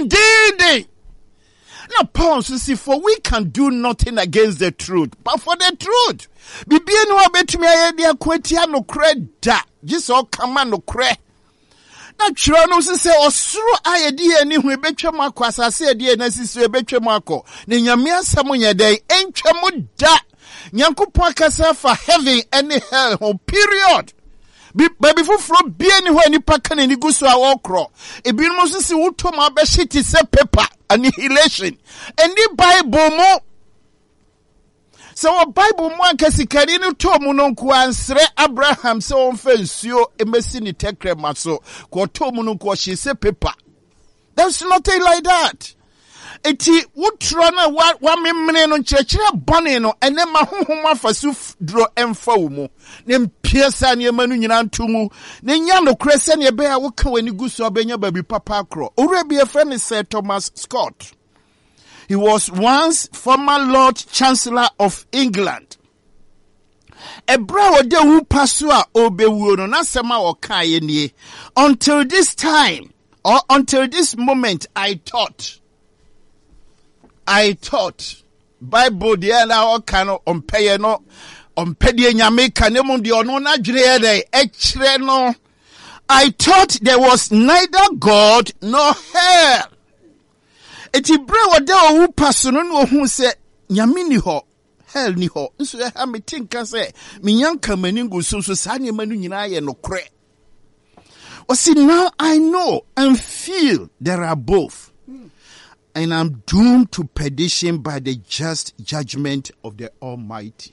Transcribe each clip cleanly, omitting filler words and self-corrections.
dendeenden. Na Paul nso si for we can do nothing against the truth but for the truth. Bibie ni hɔ a bɛtumi ayɛ de ako atia nokorɛ da gye sɛ ɔka ma nokorɛ. Na twerɛ no nso sɛ ɔsoro a yɛde yɛn ani hu ebɛtwa mu akɔ asase a yɛde yɛn asi so ebɛtwa mu akɔ na Nyame asɛm nyɛ dɛn ɛntwa mu da. Nyankopɔn akasa afa heaven ne hell ho period. Baabi foforɔ bia ni hɔ a nipa ka n'ani gu so a ɔrekorɔ. Ebinom nso si wotɔ mu abɛhye te sɛ paper annihilation. Ɛnni Bible mu. Sɛ wɔ Bible mu anka sikani no tɔɔ mu no nko ansrɛ Abraham sɛ ɔmfa nsuo mmɛsi ne tɛkrɛma so. Kɔ ɔtɔɔ mu no nko ɔhyee sɛ paper. There's nothing like that. Eti wotorɔ no a wamemene no nkyerɛkyerɛ bɔne no ɛnɛ ma honhom afa so duro ɛmfa wo mu na mpia saa nneɛma no nyinaa nto mu na nya nokorɛ sɛdeɛ ɛbɛyɛ a woka w'ani gu so a wobɛnya baabi papa akorɔ. Owura bi yɛfrɛ no Sir Thomas Scott. He was once former Lord Chancellor of England. Ɛberɛ a ɔda wu pa so a ɔrebɛwuo no, n'asɛm a ɔkaeɛ nie, Until this time, or until this moment, I thought. I thought. Bible deɛ na ɔka no, ɔmpɛyɛ no, ɔmpɛ deɛ Nyame ka, na mmom deɛ ɔno n'adwene yɛ dɛ, ɛkyerɛ no. I thought there was neither God nor hell. Eti berɛ a ɔda owu pa so no na ohuu sɛ Nyame ni hɔ, Hell nni hɔ. Nso ɛha mete nka sɛ menya nka m'ani ngu so nso saa nneɛma no nyinaa yɛ nokorɛ. Ɔsi now I know and feel there are both and I'm doomed to perdition by the just judgment of the Almighty.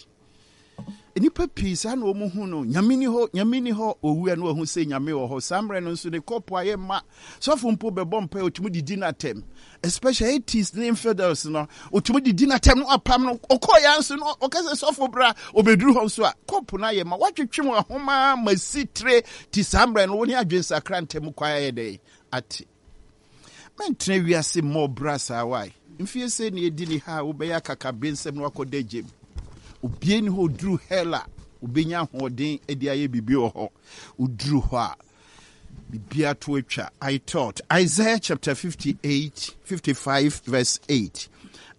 Nnipa pii saa na wɔn hu no, Nyame ni hɔ, Nyame ni hɔ, owu a na wahu sɛ Nyame wɔ hɔ. Saa mmerɛ no nso ne kɔpo ayɛ ma. Sɔfo mpo bɛbɔ mpae otumi didi n'atɛm. Especially atheists ne infidels no, otumi didi n'atɛm no apam no. Ɔkɔɔ ya nso no, ɔka sɛ sɔfo bra, obeduru hɔ nso a, kɔpo no ayɛ ma. Watwetwe wɔn ahoma ma si tire ti saa mmerɛ no, wo ne adwensakra ntɛm kwan ayɛ dɛn ate. Mɛntena wiase mmɔ bra saa wae. Mfie sɛ na edi ne ha a wobɛyɛ akakabensɛm na wakɔda gyam. Obie ni hɔ oduru hell a obenya ahoɔden de ayɛ biribi wɔ hɔ. Oduru hɔ a biribiara to atwa. I thought Isaiah chapter 58 55 verse 8.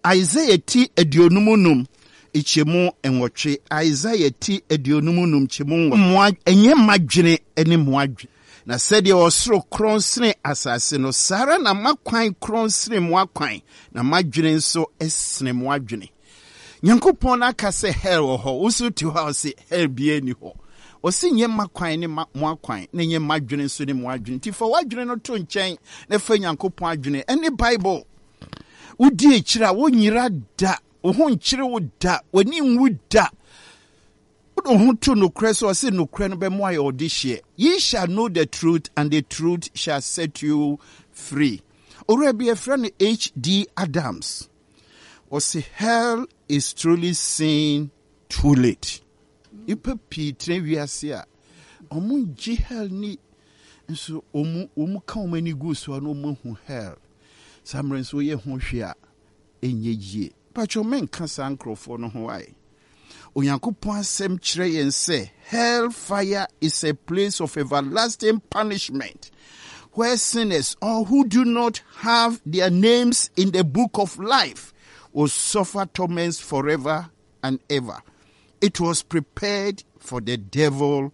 Isaiah ti 55 kyɛmu nwɔtwe. Isaiah ti 55 kyɛmu nwɔtwe. Ɛnyɛ mmadwene ne mmoadwene. Na sɛdeɛ ɔsoro korɔn sene asase no, saa ara na m'akwan korɔn sene mo akwan, na m'adwene nso sene mo adwene. Nyankopɔn no aka sɛ hell wɔ hɔ, wo nso te hɔ a ɔse hell biara nni hɔ. Ɔse nyɛ m'akwan ne mo akwan, na nyɛ m'adwene nso ne mo adwene. Nti fa w'adwene no to nkyɛn na fa Nyankopɔn adwene ɛne Bible. Wodi akyiri a wonyera da, wo ho nkyere wo da, w'ani nwu da. Wode wo ho to nokorɛ so ɔse nokorɛ no bɛmo ayɛ ɔdehyeɛ. Ye shall know the truth and the truth shall set you free. Owura bi yɛfrɛ no H.D. Adams. Ɔse hell is truly seen too late. Nipa pii tena wiase a ɔmo ngye hell ni nso ɔmo ɔmo ka ɔmo ani gu so a na ɔmo ahu hell. Saa mmerɛ nso woyɛ ho hwee a ɛnyɛ yie. Mpakyɛw mɛnka saa nkorɔfoɔ no ho ae. Onyankopɔn asɛm kyerɛ yɛn sɛ hell fire is a place of everlasting punishment where sinners or who do not have their names in the book of life will suffer torments forever and ever. It was prepared for the devil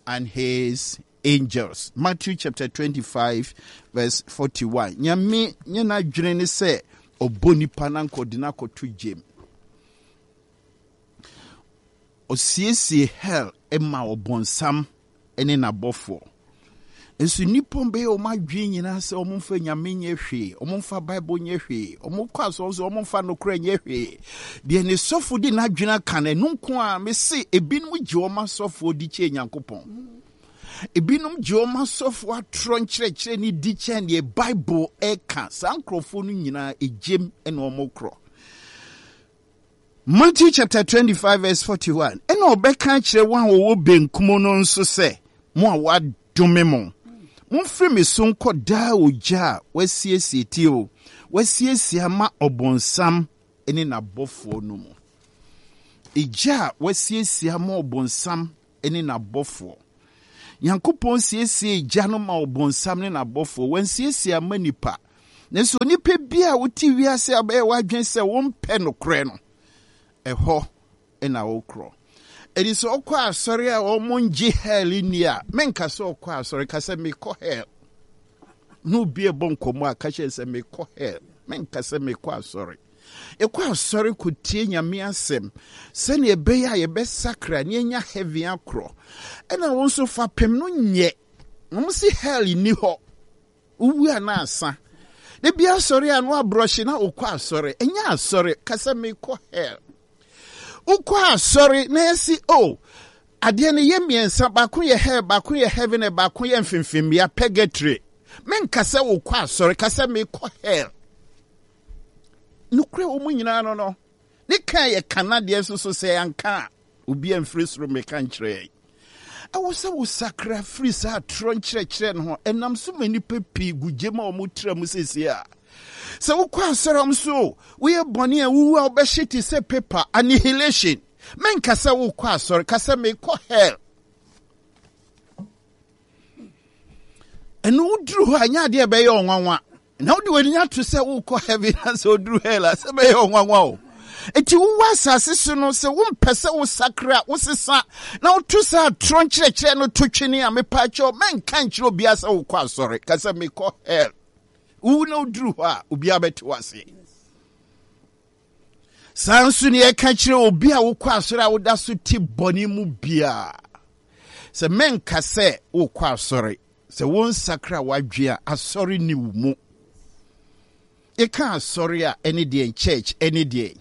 and his angels. Matthew chapter 25 verse 41. Nyame nyɛ n'adwene ne sɛ ɔbɔ nipa na nkɔde no akɔto gyem. Ɔsiesie hell ma ɔbonsam ne n'abɔfoɔ. Nso nnipa bɛyɛ wɔn adwene nyinaa sɛ wɔn mfa nyame nyɛ hwee, wɔn mfa Bible nyɛ hwee, wɔn kɔ asɔre nso wɔn mfa nokorɛ nyɛ hwee. Deɛ ne sɔfo de n'adwene aka no, ɛno nko a mese ebinom gye wɔn asɔfoɔ di kyɛn Nyankopɔn. Ebinom gye wɔn asɔfoɔ atorɔ nkyerɛkyerɛ ne di kyɛn deɛ Bible ɛka. Saa nkurɔfoɔ no nyinaa egyem na wɔn korɔ. Matthew chapter 25 verse 41 ɛna ɔbɛka akyerɛ wɔn a wɔwɔ benkum no nso sɛ mo a wɔadome mo momfiri me so nkɔ daa ogya a wɔasiesie tie o wɔasiesie ama ɔbonsam ne n'abɔfoɔ no mu egya a wɔasiesie ama ɔbonsam ne n'abɔfoɔ Nyankopɔn siesiee gya no ma ɔbonsam ne n'abɔfoɔ wansiesie ama nipa. Nanso onipa bi a wote wiase a bɛyɛ w'adwene sɛ wompɛ nokorɛ no, ɛhɔ na wokorɔ. Ɛdi sɛ ɔkɔ asɔre a wɔn ngye hell nni a, menka sɛ ɔkɔ asɔre, ka sɛ mekɔ hell. Na obi ɛbɔ nkɔmmɔ a, ka kyerɛ sɛ mekɔ hell. Menka sɛ mekɔ asɔre. Yɛkɔ asɔre kɔtie Nyame asɛm sɛnea ɛbɛyɛ a yɛbɛsakra na yɛanya heaven akorɔ. Ɛna wo nso fapem no nyɛ. Wɔn se hell nni hɔ. Wowu a na asa. Da bi asɔre a na wabrɔhye na wokɔ asɔre. Ɛnyɛ asɔre, ka sɛ mekɔ hell. Wokɔ asɔre na yɛsi oh adeɛ no yɛ mmiɛnsa, baako yɛ hell, baako yɛ heaven, na baako yɛ mfimfimmea, purgatory. Menka sɛ wokɔ asɔre, ka sɛ mekɔ hell. Nokorɛ wɔ mu nyinaa no no, ne ka yɛ ka na deɛ nso so sɛ yɛanka a, obi amfiri soro mmɛka nkyerɛ yɛn. Ɛwɔ sɛ wosakra firi saa atorɔ nkyerɛkyerɛ no ho. Ɛnam so ma nnipa pii gu gyem a wɔtra mu seesei a. Sɛ wokɔ asɔre a so woyɛ bɔne a wowu a wobɛhye te sɛ paper, annihilation. Menka sɛ wokɔ asɔre, ka sɛ mekɔ hell. Ɛno woduru hɔ a ɛnyɛ adeɛ ɛbɛyɛ ɔnwanwa. Na wode w'ani ato sɛ wokɔ heaven na sɛ woduru hell a sɛ bɛyɛ ɔnwanwa o. Enti wowɔ asase so no sɛ wompɛ sɛ wosakra, wosesa na woto saa atorɔ nkyerɛkyerɛ no to twene a, mepaakyɛw mɛnka nkyerɛ obiara sɛ wokɔ asɔre. Ka sɛ mekɔ hell. Wowu na woduru hɔ a obiara bɛte wo ase. Saa nso ne yɛka kyerɛ obi a wokɔ asɔre a woda so te bɔne mu biara sɛ mɛnka sɛ wokɔ asɔre. Sɛ wonsakra w'adwene a, asɔre nni wo mu. Yɛka asɔre a, ɛne deɛn? Church ɛne deɛn?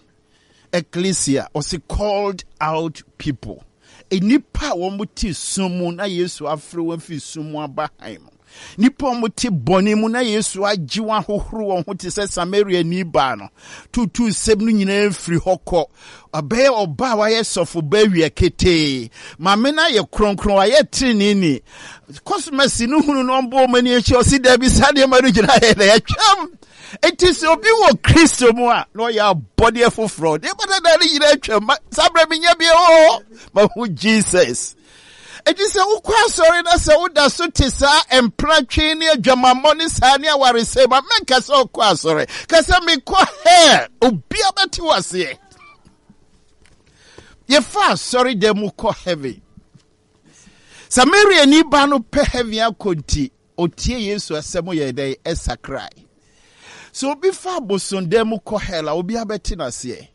Ecclesia, ɔse called out people. Nnipa a wɔn te sum mu na Yesu afrɛ wɔn afiri sum mu aba hann mu. Nnipa a wɔn te bɔne mu na Yesu agye wɔn ahohoro wɔn ho te sɛ Samariani baa no. Tutu nsɛm no nyinaa firi hɔ kɔ. Ɔbɛyɛ ɔba a wayɛ sɔfo ba awia ketee. Maame no ayɛ kronkron, wayɛ treneeni. Kɔsomasi no hunu no ɔmbɔ wɔn ani akyi, ɔsi daabi saa nneɛma no nyinaa yɛ na yɛtwam. Enti sɛ obi wɔ Kristo mu a, na ɔyɛ abɔdeɛ foforɔ. Nneɛma dada no nyinaa atwam. Saa berɛ menya bi o, mahu Jesus. Enti sɛ wokɔ asɔre na sɛ woda so te saa mpratwe ne adwamammɔ ne saa ne awaresɛe ma mɛnka sɛ ɔkɔ asɔre. Ka sɛ mekɔ hell. Obia bɛte wo aseɛ. Yɛfa asɔre dɛm mu kɔ heaven. Samariani ba no pɛ heaven akɔ nti, otie Yesu asɛm yɛ dɛn ɛsakrae. Sɛ obi fa abosondan mu kɔ hell a, obi abɛte n'aseɛ.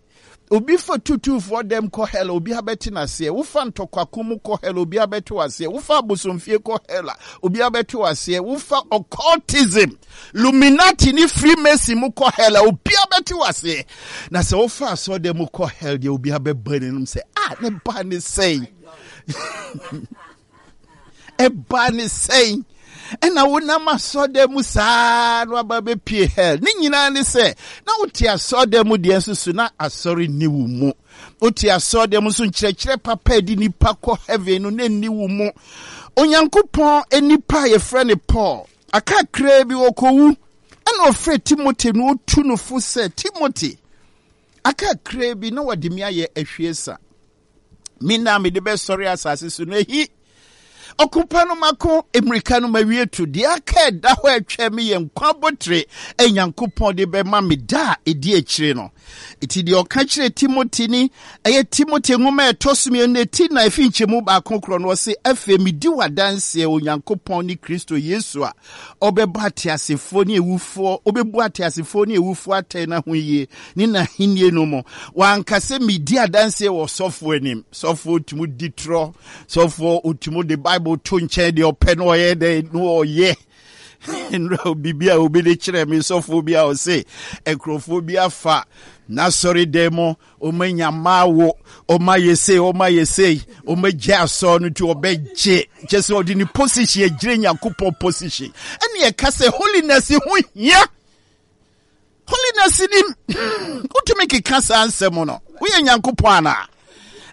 Obi fa tutuufoɔ dɛm kɔ hell a, obi abɛte n'aseɛ. Wofa ntɔkwako mu kɔ hell a, obi abɛte w'aseɛ. Wofa abosomfie kɔ hell a, obi abɛte w'aseɛ. Wofa occultism, Illuminati ne Freemason mu kɔ hell a, obi abɛte w'aseɛ. Na sɛ wofa asɔɔdan mu kɔ hell deɛ, obi abɛbɔ n'anom sɛ, ah, ne ba ne sɛn. Ɛbaa ne sɛn ɛna wonam asɔɔdan mu saa na waba bɛpie hell? Ne nyinaa ne sɛ na wote asɔɔdan mu deɛ nso so na asɔre nni wo mu. Wote asɔɔdan mu nso nkyerɛkyerɛ papa ɛde nipa kɔ heaven no na nni wo mu. Onyankopɔn nipa a yɛfrɛ no Paul, akakraa bi ɔkɔwu, ɛna ɔfrɛ Timothy na ɔtu no fo sɛ, Timothy, akakraa bi na wɔde me ayɛ ahwiesa. Me na mede bɛsɔre asase so no ahi. Ɔko pa no mako, mmirika no mawie to. Deɛ aka ɛda hɔ ɛtwɛn me yɛ nkwa abotire a Nyankopɔn de bɛma me da a ɛdi akyire no. Eti deɛ ɔka kyerɛ Timothy ni, ɛyɛ Timothy nwoma a ɛtɔ so mmienu na eti na efi nkyɛmu baako korɔ no, ɔse, Afei medi w'adanseɛ Onyankopɔn ne Kristo Yesu a ɔbɛbɔ ateasefoɔ ne awufoɔ, ɔbɛbu ateasefoɔ ne awufoɔ atɛn no ahoyie ne n'ahennie no mu. Wanka sɛ medi adanseɛ wɔ sɔfoɔ anim. Sɔfoɔ tumi di torɔ, sɔfoɔ ɔtumi de Bible to nkyɛn deɛ ɔpɛ no ɔyɛ dɛ no ɔyɛ. Nnora biribi a obi de kyerɛ me sɔfoɔ bi a ɔse nkurɔfoɔ bi afa n'asɔre dan mu ɔma nya mmaa wo ɔma yɛ sei ɔma yɛ sei ɔma gye asɔre no nti ɔbɛgye kyɛ sɛ ɔde ne position agyina Nyankopɔn position. Ɛne ɛka sɛ holiness ho hia. Holiness ni wotumi keka saa nsɛm no woyɛ Nyankopɔn anaa?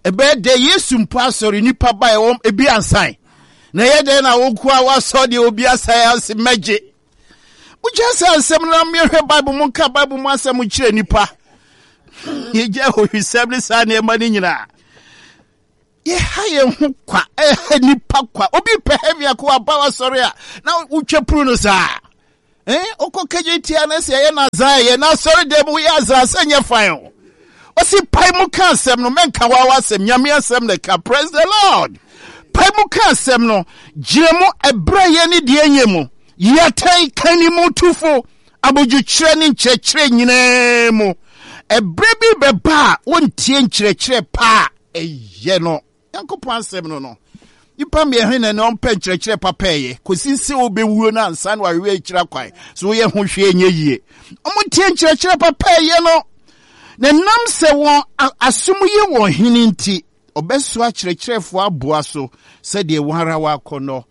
Ɛbɛyɛ dɛ Yesu mpo asɔre nipa ba ɛwɔ ebi ansan na ɛyɛ dɛ na wo nko a wasɔ deɛ obi asan ase mɛgye. Wogya saa nsɛm no na mehwɛ Bible mu nka Bible mu asɛm kyerɛ nipa. Yɛgya ahohwisɛm ne saa nneɛma no nyinaa. Yɛha yɛn ho kwa, ɛha nipa kwa. Obi pɛ heaven akɔ aba wasɔre a na wotwa puru no saa. Eh, wokɔ kagye tia no sɛ ɛyɛ nazaa ɛyɛ na asɔre dɛm woyɛ azaa sɛ nyɛ fan o. Ɔsi pae mu ka asɛm no, mɛnka wawa asɛm, nyame asɛm na ɛka. Praise the Lord. Pae mu ka asɛm no, gyina mu ɛberɛ yɛ ne deɛ nyɛ mu. Yi atɛn, ka ne mu tufo, abodwokyerɛ ne nkyerɛkyerɛ nyinaa mu. Ɛberɛ bi bɛba a wontie nkyerɛkyerɛ pa a ɛyɛ no. Nyankopɔn asɛm no no, nipa mmiɛnhe na ɛna ɔmpɛ nkyerɛkyerɛ papa ɛyɛ kɔsi sɛ wobɛwuo no ansa na wahwehwɛ akyira kwan so woyɛ ho hwee nyɛ yie. Ɔmo tie nkyerɛkyerɛ papa ɛyɛ no, na ɛnam sɛ wɔn asom yɛ wɔn hene nti, ɔbɛsoa akyerɛkyerɛfoɔ aboa so sɛdeɛ wɔn ara wɔakɔnnɔ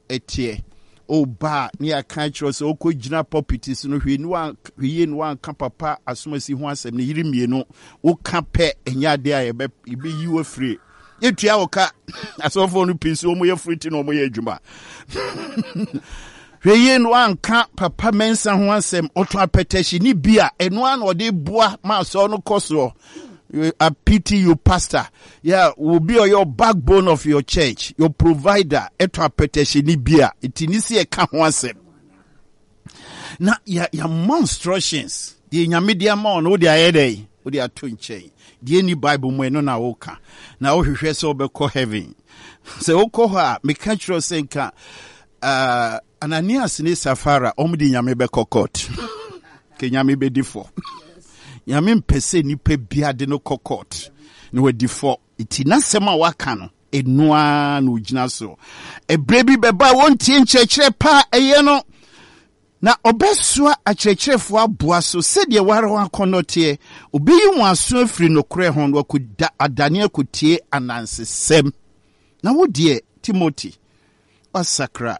teɛ. Woba a, ne yɛaka akyerɛ wo sɛ wokɔgyina pulpit so no, hwɛ ni hwɛ yie na woanka papa asomasi ho asɛm, ne yere mmienu, woka pɛ, ɛnyɛ adeɛ a yɛbɛ yɛbɛyi wo afiri. Yɛtua wo ka. Asɔfoɔ no pii so wɔn yɛ firi ti na wɔn yɛ adwuma. Hwɛ yie na woanka papa Mensah ho asɛm, ɔtɔn apɛtɛhye ne bi a, ɛno ara na ɔde boa ma asɔre no kɔ soɔ. I pity you, pastor. Yeah, will be your backbone of your church, your provider. Eto apɛtɛhye ni bia. Eti ni si ɛka ho asɛm. Na ya ya instructions. Deɛ nyame de ama ɔno wode ayɛ dɛ wode ato nkyɛn. Deɛ ni Bible mu ɛno na woka. Na wohwehwɛ sɛ wobɛkɔ heaven. Sɛ wokɔ hɔ a meka kyerɛ sɛ nka uh, Ananias ne Safara wɔn de nyame bɛkɔ court. Ke nyame bɛdi fɔ. Nyame mpɛ sɛ nipa bia de no kɔ court na wadi fɔ. Nti n'asɛm a waka no ɛno ara na ogyina so. Ɛberɛ bi bɛba a wɔntie nkyerɛkyerɛ pa a ɛyɛ no na ɔbɛsoa akyerɛkyerɛfoɔ aboa so sɛdeɛ wɔara wɔn akɔnnɔ teɛ. Ɔbɛyi wɔn aso afiri nokorɛ ho na wakɔda adane akɔtie anansesɛm. Na wo deɛ, Timothy, Woasakra,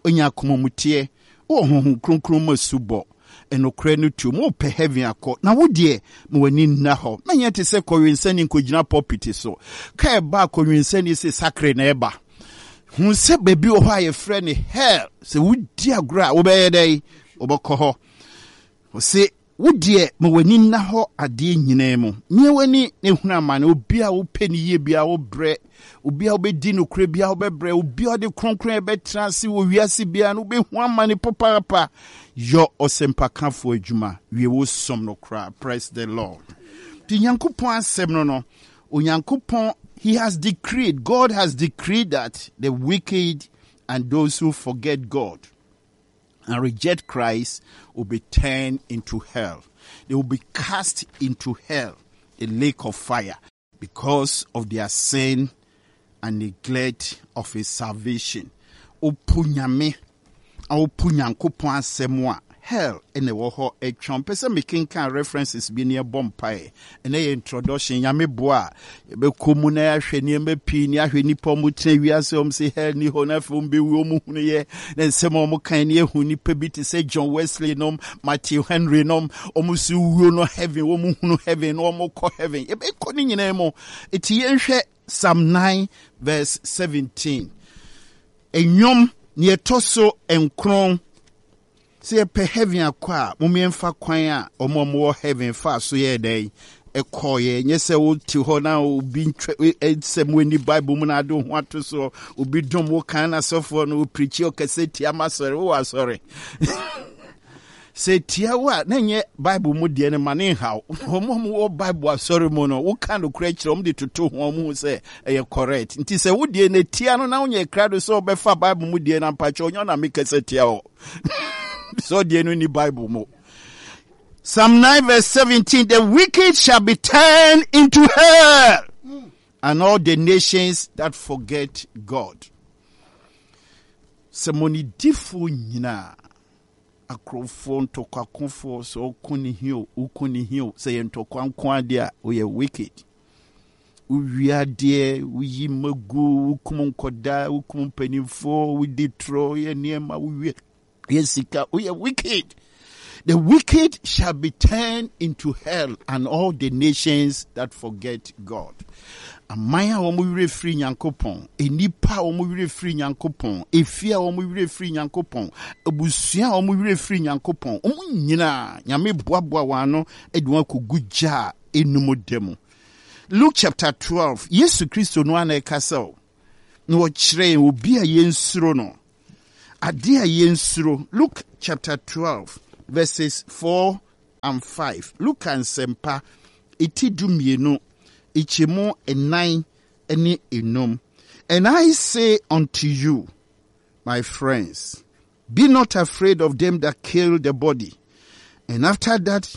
woanya akomamuteɛ, wowɔ Honhom Kronkron mu asubɔ, nokorɛ no tuom, wopɛ heaven akɔ, na wo deɛ, ma w'ani nna hɔ. Mɛnyɛ te sɛ kɔwensani nkɔgyina pulpit so. Ka ɛba a kɔwensani se sakre na ɛba. Hu sɛ baabi wɔ hɔ a yɛfrɛ no hell. Sɛ wodi agorɔ a, wobɛyɛ dɛn? Wobɛkɔ hɔ. Ɔse, Wo deɛ, ma w'ani nna hɔ adeɛ nyinaa mu. Mia w'ani na hunu amane. Obi a wopɛ ne yie biara wobrɛ. Obi a wobɛdi nokorɛ biara wobɛbrɛ. Obi a ɔde kronkron bɛtena ase wɔ wiase biara no wobɛhu amane papaapa. Yɔ ɔsɛmpakafoɔ adwuma. Wie wo som no koraa. Praise the Lord. Nti Nyankopɔn asɛm no no, Onyankopɔn, he has decreed, God has decreed that the wicked and those who forget God and reject Christ will be turned into hell. They will be cast into hell, the lake of fire, because of their sin and neglect of his salvation. Opo nyame, opo nyankopɔn asɛm a hell ɛna ɛwɔ hɔ atwa. Mpɛ sɛ mekenkan references bi ne ɛbɔ mpaeɛ. Ɛnɛ yɛ introduction, Nyame boa a, yɛbɛkɔ mu na yɛahwɛ nneɛma pii ne ahwɛ nnipa ɔmo tena wiase ɔmo se hell ni hɔ na afei ɔmo bɛwu ɔmo hunu yɛ na nsɛm a ɔmo kan ne yɛhu nnipa bi te sɛ John Wesley nom, Matthew Henry nom, ɔmo so wuo no heaven, ɔmo hunu heaven na ɔmo kɔ heaven. Yɛbɛkɔ ne nyinaa mu. Eti yɛnhwɛ Psalm 9 verse 17. Nnwom nea ɛtɔ so nkron. Sɛ yɛpɛ heaven akɔ a, mom yɛmfa kwan a wɔn a wɔwɔ heaven faa so yɛɛ dɛn ɛkɔɔeɛ. Nyɛ sɛ wote hɔ na obi ntwa nsɛm wɔ ni Bible mu na ade wo ho ato soɔ. Obi dom wo kan na sɔfoɔ no opirikyi ɔkɛsɛ tia ma asɔre wowɔ asɔre. Sɛ tia wo a na nyɛ Bible mu deɛ no ma ne nhaw. Wɔn a wɔwɔ Bible asɔre mu no woka nokorɛ kyerɛ wɔn de toto ho wɔn hu sɛ ɛyɛ correct. Nti sɛ wo deɛ no tia no na wonyɛ krado sɛ wobɛfa Bible mu deɛ no ampakyɛ ɔnyɛ na mekasa tia hɔ. Sɛ ɔdeɛ no ni Bible mu. Psalm 9 verse 17, the wicked shall be turned into hell, and all the nations that forget God. Sɛ mɔnidifoɔ nyinaa, akorɔmfoɔ, ntɔkwakofoɔ, sɛ ɔko ne hi o, woko ne hi o, sɛ yɛ ntɔkwa nko adeɛ a, woyɛ wicked. Wowia adeɛ, woyi mma gu, wokum nkɔdaa, wokum mpanimfoɔ, wodi torɔ, woyɛ nneɛma, wowie yɛ sika, woyɛ wicked. The wicked shall be turned into hell and all the nations that forget God. Aman a wɔn werɛ firi Nyankopɔn, nnipa a wɔn werɛ firi Nyankopɔn, efie a wɔn werɛ firi Nyankopɔn, abusua a wɔn werɛ firi Nyankopɔn, wɔn nyinaa Nyame boaboa wɔn ano de wɔn akɔgu gya a enum da mu. Luke chapter 12, Yesu Kristo no ara na ɛkasa o, na ɔkyerɛ yɛn obi a yɛnsuro no. Adeɛ a yɛnsuro. Luke chapter 12 verses 4 and 5. Luka nsɛmpa, eti 12, nkyɛmu 4 ne 5. And I say unto you, my friends, be not afraid of them that kill the body, and after that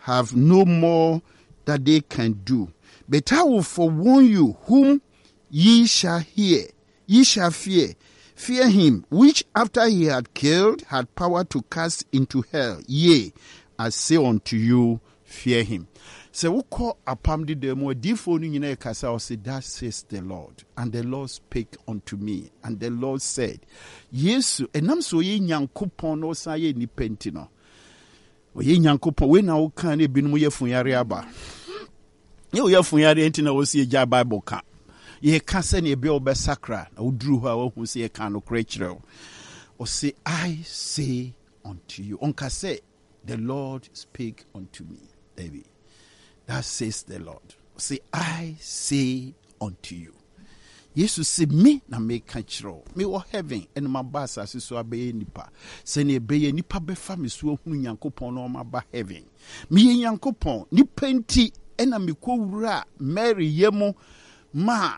have no more that they can do. But I will forewarn you whom ye shall hear, ye shall fear. Fear him, which after he had killed had power to cast into hell. Yea, I say unto you, fear him. Sɛ wokɔ apam dedaa mu adiyifoɔ no nyinaa ɛkasa ɔse thus says the Lord and the Lord spake unto me and the Lord said. Yesu ɛnam sɛ ɔyɛ Nyankopɔn na ɔsan yɛ nipa nti no ɔyɛ Nyankopɔn. Wei na woka ne ebinom yɛ funyare aba. Nyɛ woyɛ funyare nti na wɔsi agya Bible ka. Yɛka sɛnea ebi a wobɛsakra na woduru hɔ a woahu sɛ yɛka nokorɛ kyerɛ wo. Ɔse I say unto you. Ɔnka sɛ The Lord spake unto me. Dabi. That says the Lord. Say, I say unto you. Yesu se me na meka kyerɛ wo. Mewɔ heaven ɛna maba asase so abɛyɛ nipa. Sɛnea ɛbɛyɛ nipa bɛfa me so ahunu Nyankopɔn na ɔma heaven. Meyɛ Nyankopɔn. Nipa nti ɛna mekɔwura Mary yɛ mu ma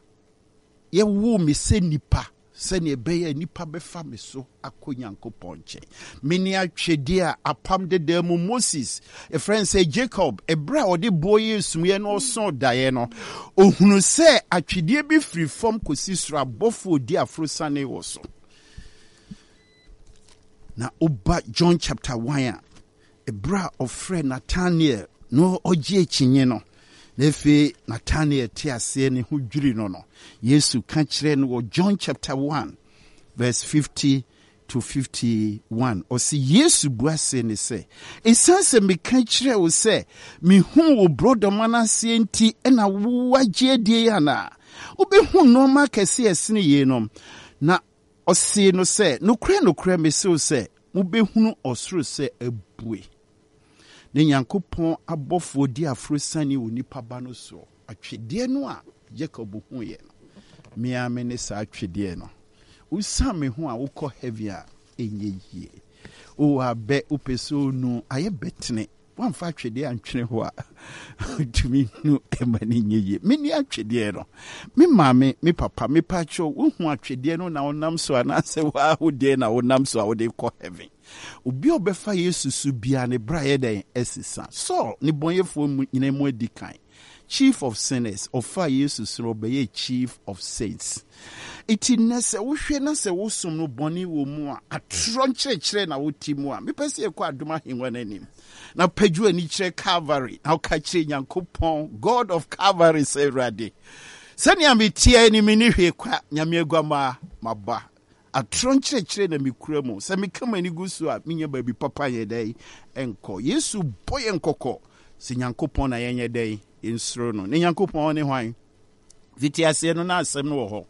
Yɛwoo me sɛ nipa sɛnea ɛbɛyɛ a nnipa bɛfa me so akɔ Nyankopɔn nkyɛn. Mene atwedeɛ a apam dedaa mu Moses, yɛfrɛ no sɛ Jacob, ɛberɛ a ɔde boɔ yɛɛ sumiiɛ na ɔsoo daeɛ no, ɔhunuu sɛ atwedeɛ bi firi fam kɔsi soro, abɔfoɔ redi aforosiane wɔ so. Na woba John chapter 1 a, Ɛberɛ a ɔfrɛɛ Natanael na ɔgye akyinnye no, na afei Natanael te aseɛ ne ho dwiri no no, Yesu ka kyerɛɛ no wɔ John chapter 1 verse 50 to 51. Ɔse Yesu bua see ne sɛ, Ɛsiane sɛ meka kyerɛɛ wo sɛ mehuu wo borɔdɔma no aseɛ nti na woagye adie yi anaa? Wobɛhu nnoɔma akɛseɛ a ɛsene yeinom. Na Ɔsee no sɛ, Nokorɛ, nokorɛ, mese wo sɛ, mobɛhunu ɔsoro sɛ abue, ne Nyankopɔn abɔfoɔ di aforosiane wɔ Nipa Ba no soɔ. Atwedeɛ no a Jacob huiɛ no, me ara mene saa atwedeɛ no. Wosiane me ho a wokɔ heaven a, ɛnyɛ yie. O abɛ, wopɛ sɛ onu, ayɛ bɛtene. Woamfa atwedeɛ antwene hɔ a, ntumi nu ɛma no nyɛ yie. Menni atwedeɛ no. Me maame, me papa, mepakyɛw, wohu atwedeɛ no na wonam so anaasɛ woa wo deɛ na wonam so a wode kɔ heaven? Obi a ɔbɛfa Yesu so biara ne bra yɛ dɛn? Ɛsesa. Saul, nnebɔneyɛfoɔ mu nyinaa mu adi kan. Chief of sinners, ɔfaa Yesu so no ɔbɛyɛɛ chief of saints. Enti nnɛ sɛ wohwɛ na sɛ wo som no bɔne wɔ mu a, atorɔ nkyerɛkyerɛ na wote mu a, mepɛ sɛ yɛkɔ adom ahengua no anim na pagyo ani kyerɛ Calvary na woka kyerɛ Nyankopɔn, God of Calvary sɛ Awurade, sɛnea meteɛ ni menni hwee kwa, Nyame aguamaa, maba. Atorɔ nkyerɛkyerɛ na mekura mu. Sɛ meka m'ani gu so a, menya baabi papa nyɛ dɛn nkɔ. Yesu bɔ yɛn kɔkɔ sɛ Nyankopɔn na yɛnyɛ dɛn? Yɛnsuro no. Ne Nyankopɔn ne hwan? Fiti aseɛ no na asɛm no wɔ hɔ.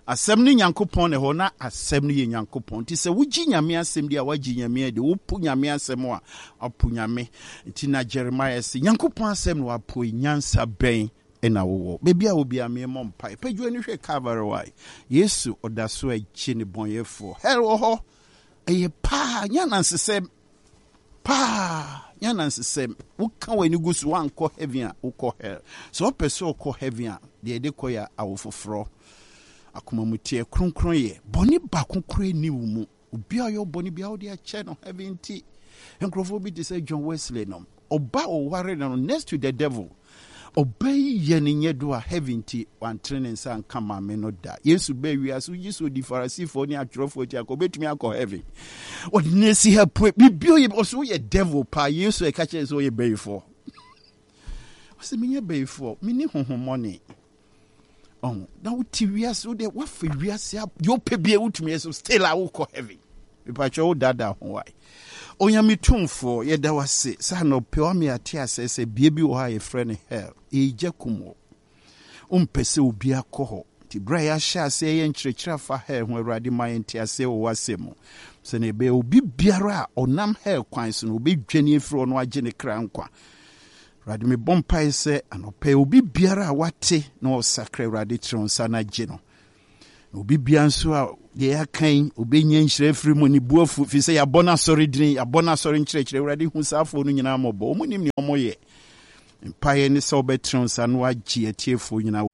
Asɛm no Nyankopɔn na ɛhɔ na asɛm no yɛ Nyankopɔn. Nti sɛ wogye Nyame asɛm di a woagye Nyame adi. Wopo Nyame asɛm a, wapo Nyame. Nti na Jeremiah se, Nyankopɔn asɛm na wapo yi, nyansa bɛn na wowɔ? Baabi a wɔ biara meemmɔ mpae. Pagya w'ani hwɛ Calvary wae. Yesu ɔda so agye nnebɔneyɛfoɔ. Hell wɔ hɔ. Ɛyɛ paa, nyɛ anansesɛm. Paa, nyɛ anansesɛm. Woka w'ani gu so, woankɔ heaven a, wokɔ hell. Sɛ wopɛ sɛ wokɔ heaven a, deɛ yɛde kɔ yɛ awo foforɔ. Akomamuteɛ, kronkronyɛ. Bɔne baako koraa nni wo mu. Obi a ɔyɛ wo bɔne biara wode akyɛ no heaven nti. Nkurɔfoɔ bi te sɛ John Wesley nom. Ɔba a ɔware no no next to the devil. Ɔba yi yɛ ne nyɛ do a heaven nti wantene ne nsa anka maame no da. Yesu baa wiase wogye sɛ ɔdi Farisifoɔ ne atwerɛfoɔ akyi anka ɔbɛtumi akɔ heaven. Ɔde no asi ha pue biribi ɔyɛ ɔsɛ woyɛ devil paa. Yesu ɛka kyerɛ sɛ ɔyɛ bayifoɔ. Ɔsɛ menyɛ bayifoɔ menni honhommɔne. Ɔho na wote wiase wo deɛ woafa wiase deɛ wopɛ bia wotumi yɛ so still a wokɔ heaven. Mepakyɛ wo daadaa ho wae. Onyame tumfoɔ yɛda wo ase sɛ anɔpɛ wama yɛate asɛ sɛ bea bi wɔ hɔ a yɛfrɛ no hell. Ɛyɛ gya kum wo. Wompɛ sɛ obi akɔ hɔ. Nti berɛ a yɛahyɛ aseɛ yɛ nkyerɛkyerɛ afa hell ho Awurade ma yɛn nteaseɛ wɔ w'asɛm mu. Sɛnea ɛbɛyɛ obi biara a ɔnam hell kwan so no ɔbɛdwane afiri hɔ na wagye ne kra nkwa. Awurade, mebɔ mpae sɛ anɔpa yi obi biara a wate na ɔsakra Awurade kyerɛ wo nsa na gye no. Na obi bia nso a deɛ yɛaka yi obɛnya nhyira afiri mu ne bu afu firi sɛ yɛabɔ no asɔre dini, yɛabɔ no asɔre nkyerɛkyerɛ. Awurade hu saa afoɔ no nyinaa mmɔbɔ. Wɔn nim nea wɔyɛ. Mpaeɛ ne sɛ wobɛtene wo nsa na woagye atiefoɔ nyinaa.